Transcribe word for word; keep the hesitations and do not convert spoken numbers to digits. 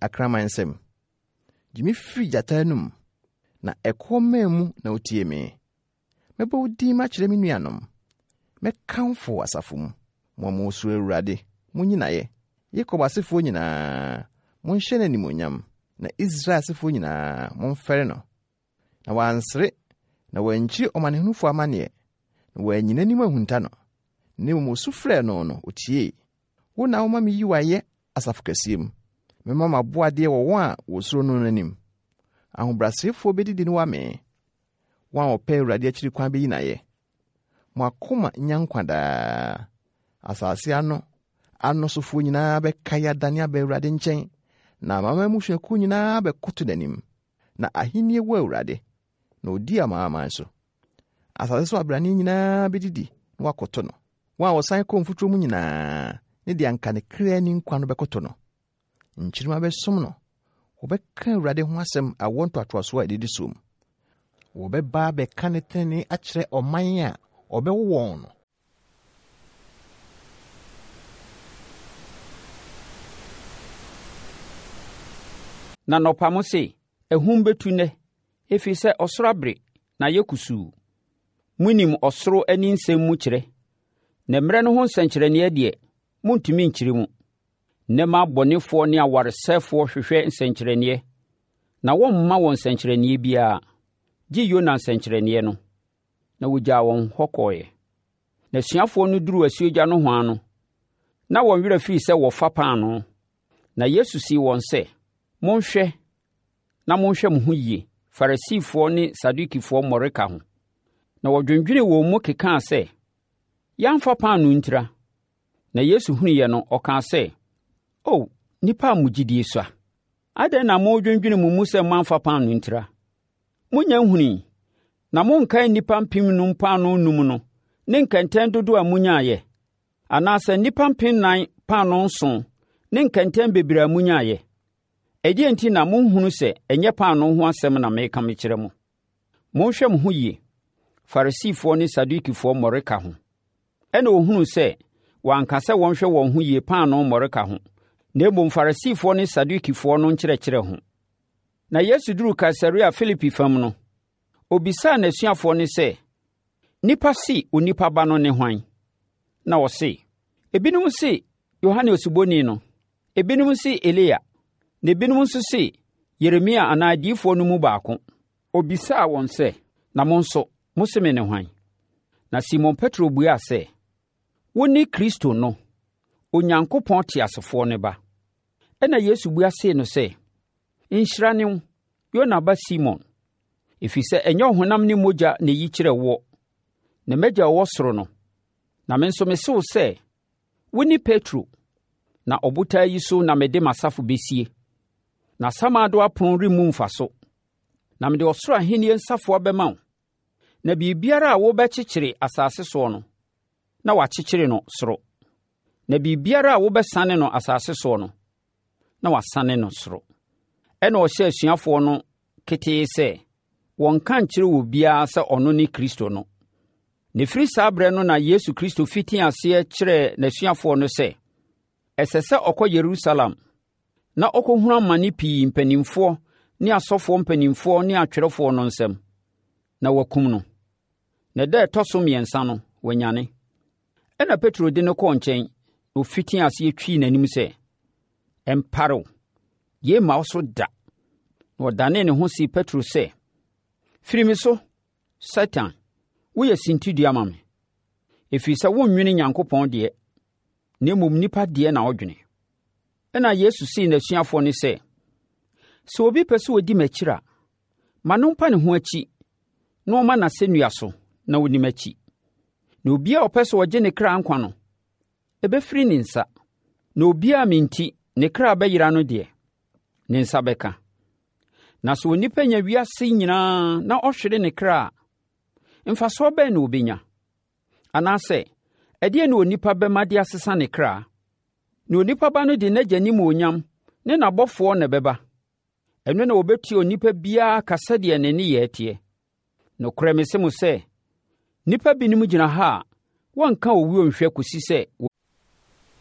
akraman nsam. Gye me firi gyata anom, na ɛkoɔ mmɛn mu na wotie me. Mɛbɔ wo din makyerɛ me nuanom. Mɛkamfo wo asafo mu. Mo a mosuro Awurade, munyi no ayɛ. Yakob asefoɔ nyinaa, monhyɛ no animuonyam, na Israel asefoɔ nyinaa, momfɛre no. Na wansere, na wankyiri ɔmanehunufo amanneɛ, na wanyi n'anim ahunta no. Na mmom osu frɛɛ no no, otiei. Wo na woma miyi wo ayɛ asafo kɛseɛ mu. Mɛma m'aboadeɛ wɔ wɔn a wɔsuro no no anim. Ahobrɛasefoɔ bɛdidi na wɔamee. Wɔn a wɔpɛ Awurade akyiri kwan bɛyi no ayɛ. Mo akoma nya nkwa daa. Asase ano ano sofoɔ nyinaa bɛkae adane aba Awurade nkyɛn, na amanaman mmusuakuo nyinaa bɛkoto n'anim. Na ahenni wɔ Awurade, na odi amanaman so. Asase so abrane nyinaa bɛdidi na wɔakoto no. Wɔn a wɔsan kɔ mfuturo mu nyinaa ne deɛ anka ne kra ni nkwa no bɛkoto no. Nkyirimma bɛsom no. Wɔbɛka Awurade ho asɛm awoɔ ntoatoasoɔ a ɛdidi soɔ mu. Wɔbɛba abɛka ne tenenee akyerɛ ɔman a ɔbɛwo wɔn no. Na anɔpa mose, “Ahum bɛtu nnɛ, ɛfiri sɛ ɔsoro abere na ayɛ kusuu.” Monim ɔsoro ani nsɛm mu kyerɛ, na mmerɛ no ho nsɛnkyerɛnneɛ deɛ, montumi nkyerɛ mu. Nnɛ mma abɔnefoɔ ne awaresɛefoɔ hwehwɛ nsɛnkyerɛnneɛ, na wɔmma wɔn nsɛnkyerɛnneɛ biara, gye Yona nsɛnkyerɛnneɛ no. Na wɔgyaa wɔn hɔ kɔeɛ. Na asuafoɔ no duruu asuogya nohoa no, na wɔn werɛ firii sɛ wɔfa paanoo. Na Yesu see wɔn sɛ, Monhwɛ na monhwɛ mo ho yie Farisifoɔ ne Sadukifoɔ mmɔreka ho. Na wɔdwendwenee wɔn mu kekaa sɛ, Yɛamfa paanoo ntira. Na Yesu hunuiɛ no, ɔkaa sɛ, O, nnipa a mo gyidie sua! Adɛn na moredwendwene mo mu sɛ moamfa paanoo ntira? Monnya nhunui, na monkae nnipa mpemnum paanoo nnum no ne nkɛntɛn dodoɔ a monyaeɛ? Anaasɛ nnipa mpemnan paanoo nson ne nkɛntɛn bebree a monyaeɛ? Ɛdeɛn nti na monhunu sɛ ɛnyɛ paanoo ho asɛm na mereka mekyerɛ mo? Monhwɛ mo ho yie, Farisifoɔ ne Sadukifoɔ mmɔreka ho. Ɛnna ɔhunuu sɛ wanka sɛ wɔnhwɛ wɔn ho yie paanoo mmɔreka ho, na mmom Farisifoɔ ne Sadukifoɔ no nkyerɛkyerɛ ho. Na Yesu duruu Kaesarea Filipi fam no, ɔbisaa n'asuafoɔ no sɛ, Nnipa se Onipa Ba no ne hwan? Na wɔse, Ebinom se Yohane Osuboni no, ebinom se Elia, na ebinom nso se Yeremia anaa adiyifoɔ no mu baako. Ɔbisaa wɔn sɛ, Na mo nso, mose me ne hwan? Na Simon Petro buaa sɛ, Wone Kristo no, Onyankopɔn teasefoɔ no ba. Ɛnna Yesu bua see no sɛ, Nhyira ne wo, Yona ba Simon, ɛfiri sɛ ɛnyɛ ɔhonam ne mogya na ɛyi kyerɛɛ woɔ, na m'agya a ɔwɔ soro no. Na me nso mese wo sɛ, wone Petro, na ɔbotan yi so na mede m'asafo bɛsie, na Asamando apono remmu mfa so. Na mede ɔsoro ahennie nsafoa bɛma wo, na biribiara a wobɛkyekyere asase soɔ no, na wɔakyekyere no soro, na biribiara a wobɛsane no asase soɔ no, na wɔasane no soro. Ɛnna ɔhyɛɛ asuafoɔ no ketee sɛ wɔnnka nkyerɛ obiara sɛ ɔno ne Kristo no. Na ɛfiri saa berɛ no na Yesu Kristo fitii aseɛ kyerɛɛ n'asuafoɔ no sɛ, ɛsɛ sɛ ɔkɔ Yerusalem na ɔkɔhunu amane pii mpanimfoɔ ne asɔfoɔ mpanimfoɔ ne atwerɛfoɔ no nsam, na wɔakum no, na da a ɛtɔ so mmiɛnsa no, wanyane. Ɛnna Petro de no kɔɔ nkyɛn, na ɔfitii aseɛ twii n'anim sɛ, Ɛmpare wo, yei mma wo so da. Na ɔdanee ne ho see Petro sɛ, Firi me so, Satan, woyɛ sintidua ma me, ɛfiri sɛ wonnwene Nyankopɔn deɛ, na mmom nnipa deɛ na wodwene. Ɛnna Yesu see n'asuafoɔ no sɛ, Sɛ obi pɛ sɛ ɔdi m'akyiri a, ma no mpa ne ho akyi na ɔmma n'asɛnnua so na ɔnni m'akyi. Na obiara a ɔpɛ sɛ ɔgye ne kra nkwa no, ɛbɛfiri ne nsa. Na obiara a me nti ne kra bɛyera no deɛ, ne nsa bɛka. Na sɛ onipa nya wiase nyinaa na ɔhwere ne kra a, mfasoɔ bɛn na ɔbɛnya? Anaasɛ, ɛdeɛn na onipa bɛma de asesa ne kra? Na onipa ba no de n'agya animuonyam ne n'abɔfoɔ na ɛbɛba. Ɛno na wɔbɛtua onipa biara ka sɛdeɛ ne nneyɛɛ teɛ. Nokorɛ mese mo sɛ, nnipa binom gyina ha a wɔnka owuo nhwɛ kɔsi sɛ